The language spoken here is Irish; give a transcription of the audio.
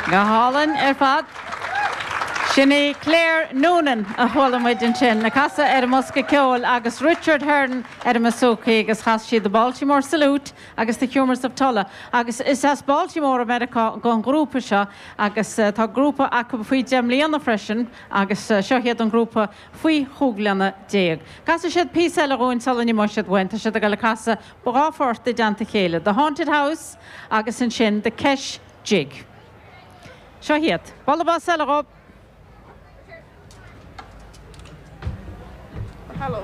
Go hálainn ar fad. Sin í Claire Noonan a chuala muid ansin ag casadh ar an mbosca ceoil agus Richard Hearne ar an mbouzouki agus chas siad The Baltimore Salute agus The Humours of Tulla. Agus is as Baltimore i Meiriceá don ghrúpa seo agus tá grúpa acu faoi 10 mbliana freisin agus seo iad an grúpa faoi chúig bhliana déag. Casfaidh siad píosa eile dhúinn sula n-imeoidh siad uainn. Tá siad ag dul ag casadh 2 phort i dteannta a chéile, The Haunted House agus ansin The Kesh Jig. Seo iad. Bualadh bos eile dhóibh. Hello.